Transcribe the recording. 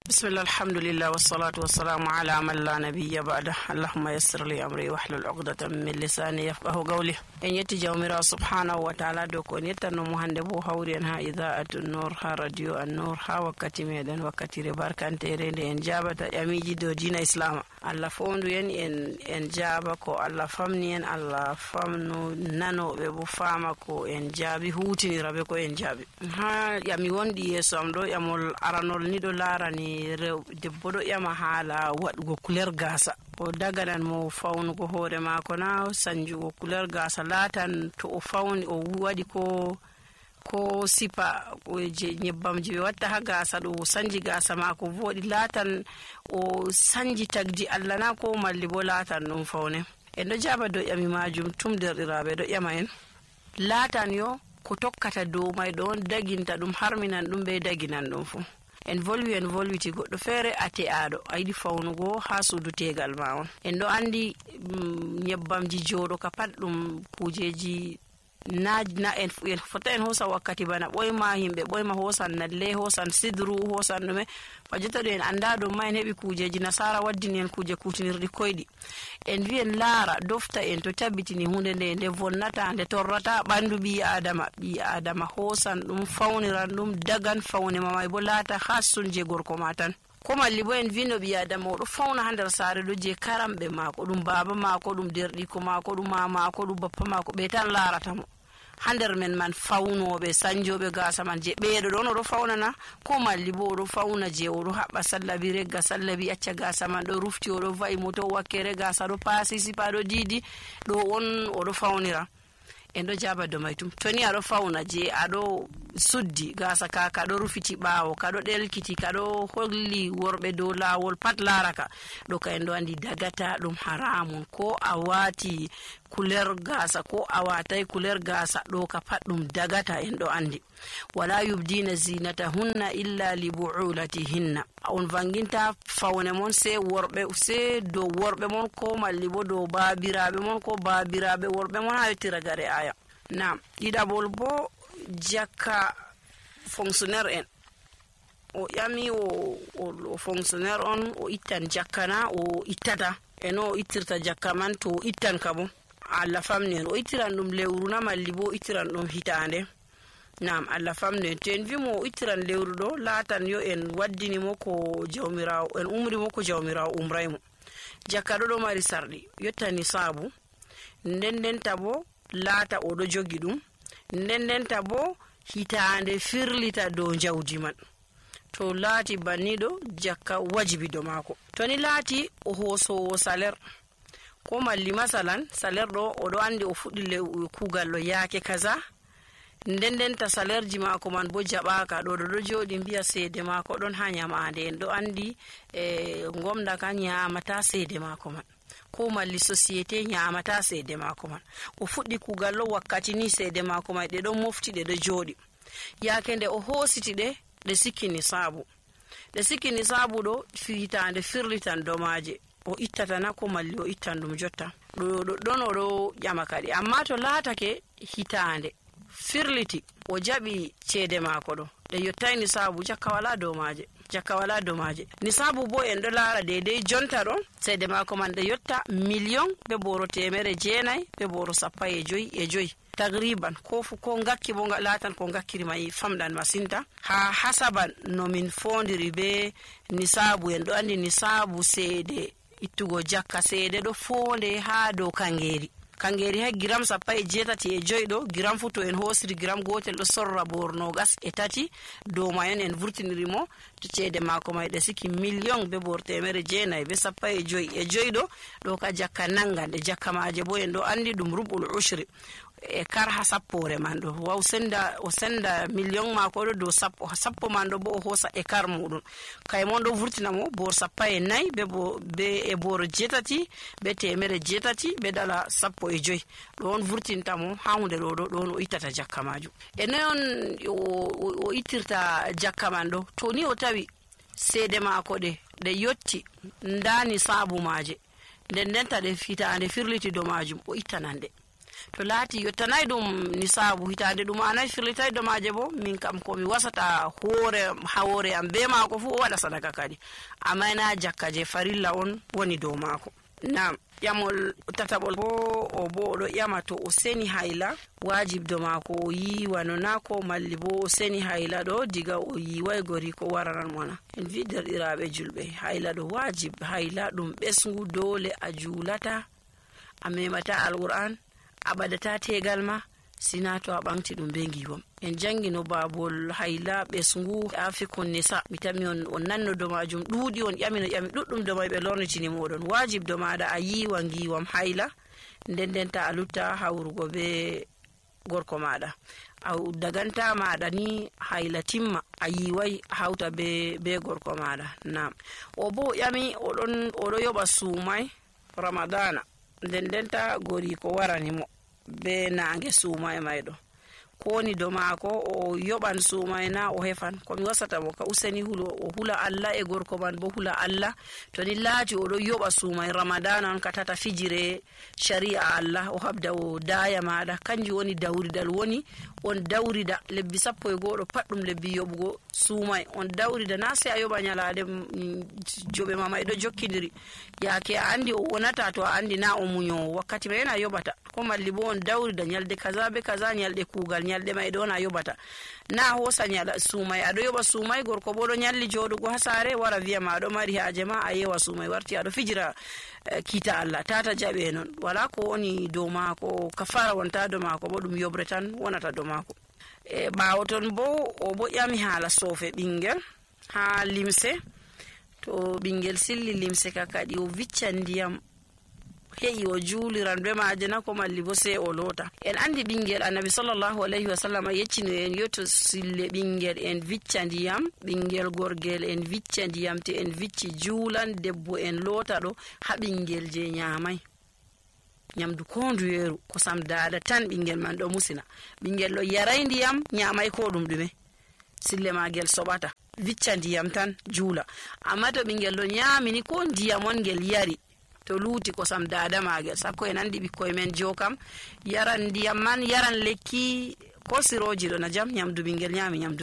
Bismillah, alhamdulillah, wassalatu wassalamu ala man la nabiyya ba'da. Allahumma yassir li amri wahlul 'uqdatan min lisani yafqahu qawli. En yetti jawmirawo subhanahu wa ta'ala do ko en yettanno mo hande bo hawri en ha idaa'atun nur, ha radio an-nur, ha wakkati meɗen wakkatire barkantere nde en jabata ƴamiji dow dina islama. Allah fondu en jaba ko Allah famni en, Allah famnu nanoɓe bo fama ko en jaabi, hutinira be ko en jaabi. Ha ƴami wondi yeso am ɗo, ƴamol aranol ni ɗo larani debbo ɗo ƴama haala waɗugo couleur gasa. O daganan mo fawnugo hoore mako na sanjugo couleur gasa, laatan to o fawni o waɗi ko sipa je nyebbam je ɓe watta ha gasa ɗo sanji gasa mako voɗi, laatan o sanji tagdi Allah na ko malli bo laatan ɗum fawne. En ɗo jaba dow ƴami majum tum derɗiraɓe ɗo ƴama en laatan yo ko tokkata dow may ɗon daginta ɗum harminan ɗum be daginan ɗum fu. En volwiti goɗɗo feere ate'aɗo a yiɗi fawnugo ha suudu tegal ma on. En ɗo andi nyebbamji joɗo ka pat ɗum kujeji na en fota en hosa wakkati bana ɓoyma himɓe ɓoyma hosan nalle, hosan sidru, hosan ɗume fajota ɗo en anda ɗum ma en heɓi kujeji nasara waddini en kuje kutinirɗi koyɗi. En wi en laara dofta en to tabbitini hunde nde vonnata, nde torrata ɓandu ɓi adama hosan ɗum fawniran ɗum dagan fawne mamay bo laata hassun je gorko ma tan. Ko malli bo en vino ɓi adama oɗo fawna ha nder saare ɗo je karamɓe mako, ɗum baba mako, ɗum derɗiko mako, ɗum mamako, ɗum bappa mako, ɓe tan larata mo ha nder men man fawnoɓe sanjoɓe gasa man je ɓeɗo ɗon oɗo fawnana. Ko malli bo oɗo fawna je oɗo haɓɓa sallabi regga sallabi acca gasa man ɗo rufti, oɗo va'i moto wakkere gasa ɗo paasi sipa ɗo didi, ɗo on oɗo fawnira. En ɗo jaba do may tum toni aɗo fawna je aɗo suddi gasa ka kaɗo rufiti ɓawo, kaɗo ɗelkiti, kaɗo holli worɓe dow lawol pat laraka ɗo ka en ɗo andi dagata ɗum haramun. Ko a wati couleur gasa ko a watai couleur gasa ɗo ka pat ɗum dagata, en ɗo andi. Wala yubdina zinata hunna illa li bu'ulatihinna. On vanginta fawne mon se dow worɓe mon, ko malli bo dow babiraɓe mon, ko babiraɓe worɓe mon ha yettira gare aya. Na ɗiɗaɓol bo jakka fonctionnaire en. O ƴami o fonctionnaire on o ittan jakka na o ittata, eno o ittirta jakka man to o ittan ka bo Allah famni en o ittiran ɗum lewru na malli bo o ittiran ɗum hitande. Naam, Allah famni en. To en wimo o ittiran lewru ɗo laatan yo en waddini mo ko jawmirawo, en umri mo ko jawmirawo umraymo. Jakka ɗo mari sarɗi yotta nisabu, ndendenta bo laata oɗo jogi ɗum, ndendenta bo hitande firlita dow jawdi man. To laati banniɗo jakka wajibi do mako. To ni laati o hosowo salaire, ko malli masalan salaire ɗo oɗo andi o fuɗɗi kugal ɗo yaake kaza, ndendenta salaire ji mako man bo jaɓaka ɗo joɗi mbiya seede mako ɗon ha nyamande. En ɗo andi gomna ka nyamata seede mako man, ko malli société nyamata seede mako man. O fuɗɗi kugal ɗo wakkati ni seede mako man ɗe ɗon mofti ɗe ɗo joɗi. Yaake nde o hositi ɗe sikkini sabu. Ɗe sikkini sabu ɗo hitande firlitan domaje. O ittatana ko malli o ittan ɗum jotta. Ɗon oɗo ƴama kadi. Amma to laatake hitande firliti o jaɓi ceede mako ɗo ɗe yottai nisabu, jakka wala domaje. Nisabu bo en ɗo laara deidei jonta ɗo ceede mako man ɗe yotta million be boro 900 be boro 15 tagriban. Ko ngakki bo laatan ko ngakkiri mai famɗan masinta ha hasaban no min fondiri be nisabu. En ɗo andi nisabu seede ittugo jakka, seede ɗo fonde ha dow kangeri ha gram 18 ɗo. Gram fu to en hosiri gram gotel ɗo sorra borno gas e tati dow mayon en vurtiniri mo to ceede mako mai ɗe siki million be bor 900 be 15 ɗo ka jakka nangan. Ɗe jakka maje bo en ɗo andi ɗum rubul ushri e kar ha sappore man ɗo. Waw o senda million mako ɗo dow sappo man ɗo bo o hosa e kar muɗum kay mon ɗo vurtina mo bor 14 be e bor 8 be 800 be dala 15 ɗo on vurtinta mo ha hunde ɗo ɗon o ittata jakka maju. E non o ittirta jakka man ɗo to ni o tawi seede mako ɗe yotti ndani sabu maje ndendenta ɗe fitande firliti do majum o ittanan ɗe. to laati yottanay ɗum nisabu hitande ɗum anayi firlitay domaje bo min kam komi wasata hawore am be maako fu o waɗa sadaka kadi amma na jakka je farilla on woni dow maako. Nam ƴamol tataɓol bo oɗo ƴama to o seni hayla wajibdo maako o yiwa no nako malli bo o seni hayla ɗo diga o yiway gori ko waranan mona. En vi derɗiraɓe julɓe hayla ɗo wajib hayla ɗum ɓesngu dole a julata a memata alquran a ɓadata tegal ma sina to a ɓamti ɗum be giwam. En jangino babol hayla ɓesngu afikon nisa mi tami on nanno do majum ɗuuɗi on ƴami ɗuɗɗum do may ɓe lornitini moɗon wajib do maɗa a yiwa giwam hayla nden ta a lutta hawrugo be gorko maɗa a daganta maɗa ni hayla timma a yiwai hawta be gorko maɗa. Nam o bo ƴami oɗo yoɓa suumay ramadana nden ta gori ko warani mo be nange suumay mayɗo ko woni do maako o yoɓan suumay na o hefan komi wasata mo ka useni o hula Allah e gorko man bo hula Allah to ni laati oɗo yoɓa suumay ramadana on ka tata fijire shari'a Allah o habda o daya maɗa kanjum woni dawridal woni on dawrida lebbi 11 pat ɗum lebbi yoɓugo suumay on dawrida na sai a yoɓa nyalade joɓe ma mayɗo jokkidiri yaake a andi o wonata to a andi na o muñowo wakkati mai na yoɓata ko malli bo on dawrida nyalde kaza be kaza nyalde kugal nyalde mayɗo on a yoɓata na hosa nyala suumay aɗo yoɓa suumay gorko bo ɗo nyalli joɗugo ha sare wara wiya ma aɗo mari haaje ma a yewa suumay warti aɗo fijira kita Allah tata jaɓe non wala ko woni dow maako kafara wonta dow maako bo ɗum yobre tan wonata dow maako. E ɓawo ton bo o bo ƴami haala soofe ɓingel ha limse to ɓingel silli limse ka kadi o viccan ndiyam he'i o juliran be maaje na ko malli bo sai o lota. En andi ɓingel annabi sallallahu alaihi wasallam yeccino en yoto sille ɓingel en vicca ndiyam ɓingel gorgel en vicca ndiyam te en vicci juulan debbo en lota ɗo ha ɓingel je nyamai nyamdu ko nduyeru kosam dada tan ɓingel man ɗo musina ɓingel ɗo yaray ndiyam nyamai ko ɗum ɗume sille magel soɓata vicca ndiyam tan juula amma to ɓingel ɗo nyamini ko ndiyam on ngel yari to luuti kosam dada magel sakko en andi ɓikkoy men jokam yaran ndiyam man yaran lekki ko siroji ɗo na jam nyamdu ɓingel nyami nyamdu